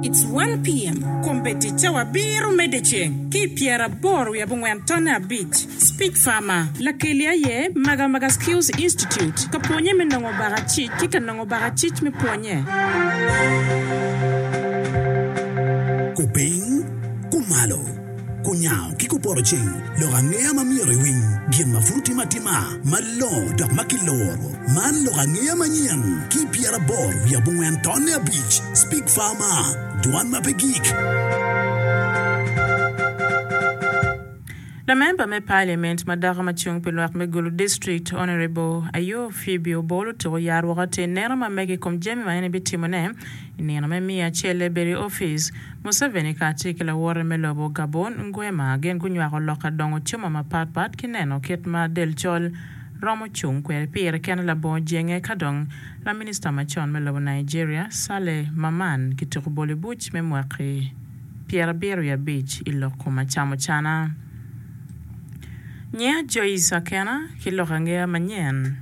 It's 1 PM. Kombeddi cawa abiro me dyeceng ki i pyeraboro wiye abongwen tonne abic. Speech Farmer, Lakeli aye Magamaga Skills Institute ka pwonye me nongo bakacic ki ka nongo bakacic me pwonye. Kupiny, kumalo, kunyango ki kupoto ceng, lok angeya ma myero iwiny, gin ma pud otim atima, malongo dok ma kiloro. Man lok angeya manyen ki 84 tonne abic, Speak Farmer, dwan ma pe gik. Lamemba me Parliament ma dako ma cung pi lwak me Gulu District, Honourable Ayo Phoebe Obol otuko yar woko atir neno ma mege i kom jami ma en ebitimone i nino me miya acel ebedo i opic. Museveni kacel ki lawote me lobo Gabon, Nguema gin gunywako lok ka dongo cuma mapat pat ki neno kit ma del col romo cung kwede pire kene labongo jenge ka dong laminista macon me lobo Nigeria, Saleh Mamman kituko bolo i buc me mwaki 75 i lok kom acamucana. Nyinga Joyce Akena ki lok angeya manyen.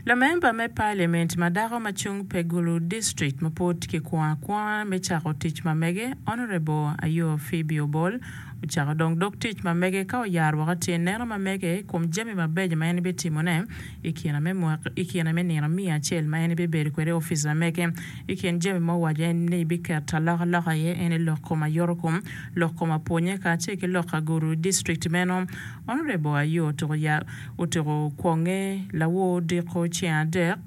Lamemba me Parliament ma dako ma cung pe Gulu District ma pwod kikwongo akwonga me cako tic ma mege, Honourable Ayo Phoebe Obol, ocako dong dog tic ma mege ka oyaro woko tye neno ma mege i kom jami mabeco ma en bitimone i kine me nino miya acel ma en bibedo kwede i opic ma mege. I kin jami ma owaco en ni biketo alokaloka iye en aye lok kom ayotokom, lok kom apwonye kacel ki lok agudo i district meno. Honourable Ayoo otuko kwonge lawor odiko ceng adek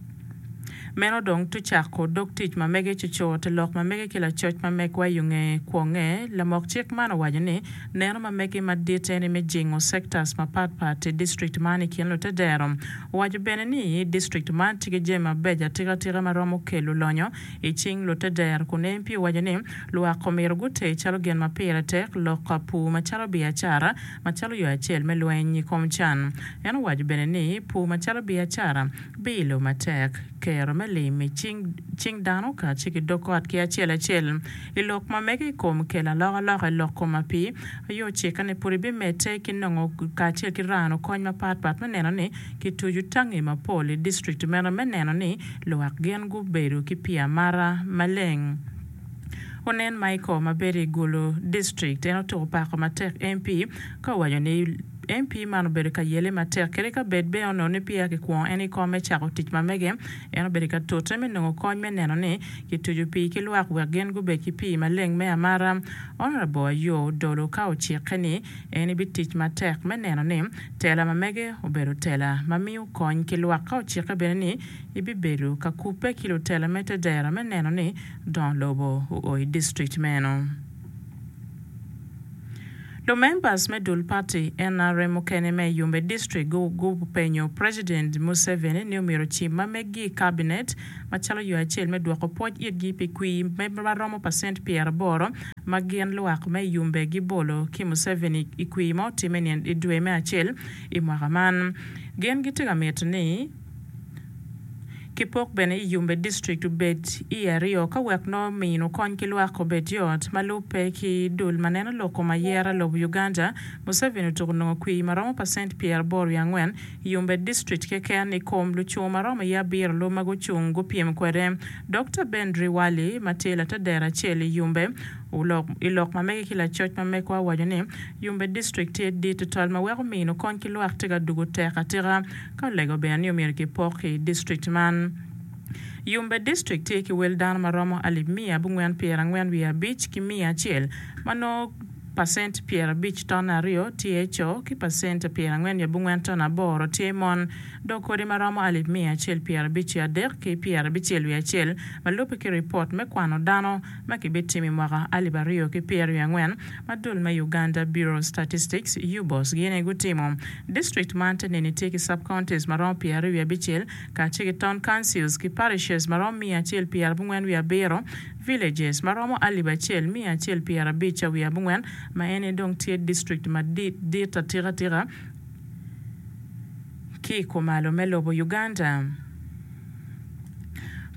meno dong tucako dog tic ma mege cucut i lok ma mege ki lacoc ma megwa i yonge kwonge. Lamok cik man owaco ni neno ma mege madit en aye me jingo sectors mapat pat i district man i kin lutedero. Owaco bene ni district man tye ki jami mabeco atika tika ma romo kelo lonyo i cing lutedero kun MP owaco ni lwak omyero guter calo gin ma pire tek lok ka pur macalo biacara macalo yo acel me lweny i kom can. En owaco bene ni pur macalo biacara biilo matek kero me lim i cing dano kacel ki dog ot ki acel acel. I lok ma mege i kom kelo alokaloka i lok kom apii, aye ocikke ni pud ibimedde ki nongo kacel ki rano kony mapat pat me neno ni kituco tangi mapol i district meno me neno ni lwak gin gubedo ki pii amata maleng. Onen Michael ma bedo i Gulu district en otuko pako matek MP ka owaco ni MP man obedo ka yele matek kadi ka bed bene onongo ni peya kikwongo en i kom me cako tic ma mege en obedo ka tute me nongo kony me neno ni Kituco pii ki lwak wek gin gubed ki pii maleng me amata. Honourable Ayoo odolo ka ocikke ni en ebitic matek me neno ni tela ma mege obedo tela ma miyo kony ki lwak ka ocikke bene ni ebibedo ka kubbe ki lutela me tedero me neno ni dongo lobo oo i district meno. Lumembers me dul party nrm mukene me Yumbe District gupenyo President Museveni ni omyero ocim ma meggi i cabinet macalo yo acel me dwoko pwoc itgi pi kwir ma romo pacent 80 ma gin lwak me Yumbe gibolo ki Museveni i kwir ma otime i dwe me acel i mwaka man. Gin gitye ka mito ni Ki pok bene i Yumbe District obed i aryo ka wek nongo mino kony ki lwak obed yot. Ma lubbe ki dul ma neno lok kom ayera lobo Uganda, Museveni otuko nongo kwir ma romo pacent 84 i Yumbe District keken i kom lucung ma romo i abiro lub ma gucung gupyem kwede. Dokta Ben Driwali ma tye latedero acel i Yumbe i lok ma mege ki lacoc ma mekwa owaco ni Yumbe District tye dit tutwal ma weko mino kony ki lwak tye ka dugo tek atika. Ka olego bene ni omyero kipok i district man. Yumbe District tye ki wel dano ma romo alip miya abongwen 45 ki 100 ma nongo pacent 50 ton aryo tye co ki pacent 48 ton aboro tye mon dok kodi ma romo alip 153 ki 61 ma lubbe ki ripot me kwano dano ma kibitimo i mwaka 2024 ma dul me Uganda Bureau of Statistics, UBOS, gin aye gutimo. District man te neni tye ki sub-counties ma romo 26 kacel ki town councils ki parishes ma romo 197, villages ma romo 1154 ma en aye dong tye district madit atika tika ki i kumalo me lobo Uganda.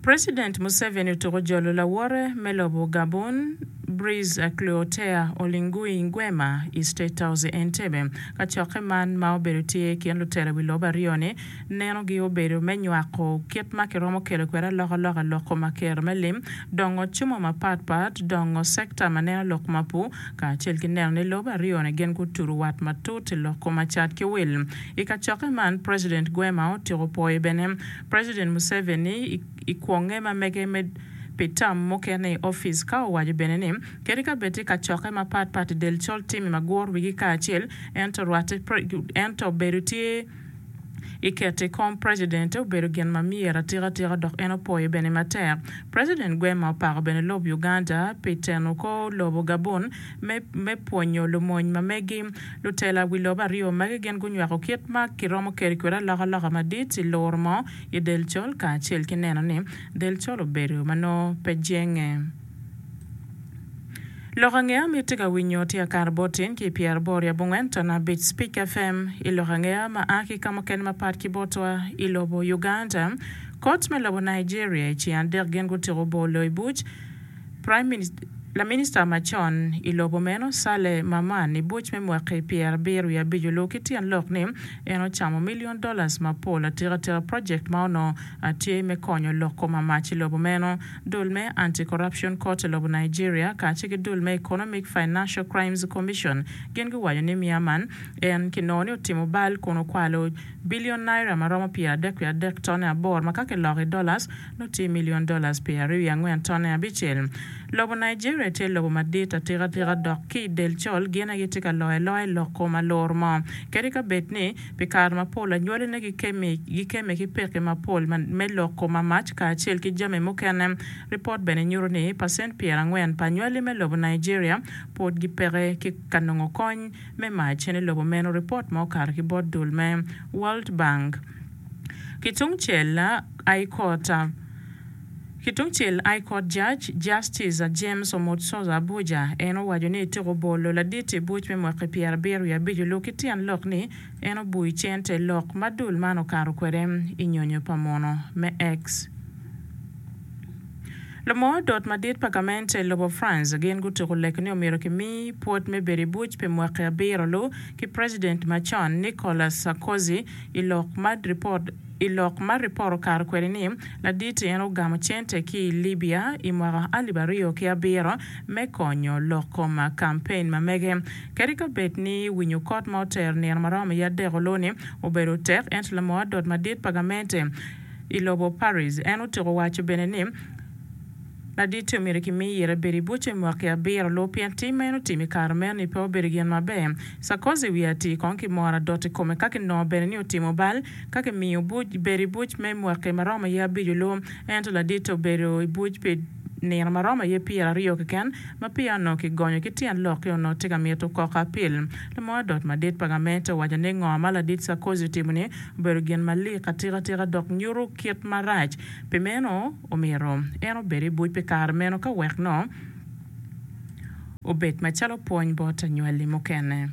President Museveni otuko jolo lawote me lobo Gabon. Brice Clotaire Oligui Nguema i State House i Entebbe. Kacokke man ma obedo tye i kin lutela wi lobo aryo-ni nenogi obedo me nywako kit ma kiromo kelo kwede alokaloka i lok kom aker me lim, dongo cumo mapat pat, dongo sekta ma neno lok ma pur, kacel ki neno ni lobe aryo-ni gin gutudo wat matut i lok kom acat ki wil. I kacokke man, President Gwema otyeko pwoyo bene President Museveni i kwonge ma mege me pi tam mukene i opic ka owaco bene ni kadi ka bed tye kacokke mapat pat i del col timi ma guro wigi kacel ento rwatte ento bedo tye i keto i kom President obedo gin ma myero atika tika dok en opwoyo bene matek. President Gwema opako bene lob Uganda pi teno kor lobo Gabon me me pwonyo lumony ma megi. Lutela wi lobo aryo magi gin gunywako kit ma kiromo kelo kwede alokaloka madit i luro mo i del col kacel ki neno ni del col obedo ma nongo pe jenge. Lok angeya ma itye ka winyo tye akato bot tin ki i pyeraboro i abongwen ton abic Speak FM i lok angeya ma a ki ka mukene mapat ki botwa i lobo Uganda. Kot me lobo Nigeria i ceng adek gin gutyeko bolo i buc Laminista macon i lobo meno Saleh Mamman i buc me mwaki pyerabiro wiye abic olubo ki tyen lok ni en ocamo million dollars mapol atika tika project ma onongo tye me konyo lok kom amac i lobo meno. Dul me Anti-Corruption Court i lobo Nigeria kacel ki dul me Economic Financial Crimes Commission gin guwaco ni Miaman en kinongo ni otimo bal kun okwalo billion naira ma romo 33.3 tonne aboro ma ka kiloko i dollars nongo tye million dollars 24 tonne abicel. Lobo Nigeria tye lobo madit atika tika dok ki i del col gin aye gitye ka loyo aloya i lok kom alur mo. Kadi ka bed ni Pi kare mapol, anywaline gikemme ki pekki mapol me lok kom amac kacel ki jami mukene. Ripot bene nyuto ni pacent 40 pa anywali me lobo Nigeria pud gipeke ki ka nongo kony me mac i lobo meno, ripot ma okato ki bot dul me World Bank. Kitungcel, High Court. Kitungcel, High Court Judge, Justice James Omotsozo Abuja, en owaco ni etyeko bolo ladit i buc me mwaki pyerabiro wiye abic olu ki tyen lok ni en obui cente lok ma dul man okato kwede i nyonyo pa muno me X. Lumoo dot madit pa gamente i lobo France gin gutuko lek ni omyero kimi pwod me bedo i buc pi mwaki abiro lu ki President macon Nicolas Sarkozy i lok ma ripot I lok ma ripot okato kwede ni, ladit-ti en ogamo cente ki i Libya i mwaka alip aryo ki abiro me konyo lok kom kampen ma mege. Kadi ka bed ni winyo kot ma otero nino ma romo i adek olu-ni obedo tek, ento lamor adot madit pa gamente i lobo Paris en otyeko waco bene ni, Ladit-ti omyero kimi ire bedo i buc i mwaki abiro lu pien tim ma en otimo i kare meno-ni pe obedo gin maber. Sarkozy wiye atir kong kimoro adot i kome ka kinongo bene ni otimo bal ka kimiyo buc bedo i buc me mwaki ma romo aye abico lu. Ento ladit-ti obedo i buc pi nino ma romo aye pyeraryo keken ma peya onongo kigonyo ki tyen lok-ki onongo tye ka mito koko apil. Lamor adot madit pa gamente owaco ni ngo ma ladit Sarkozy otimo-ni obedo gin malik atika tika dok nyuto kit marac. Pi meno, omyero en obed i buc pi kare meno ka wek nongo obed macalo pwony bot anywalli mukene.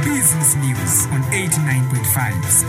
Business News on 89.5.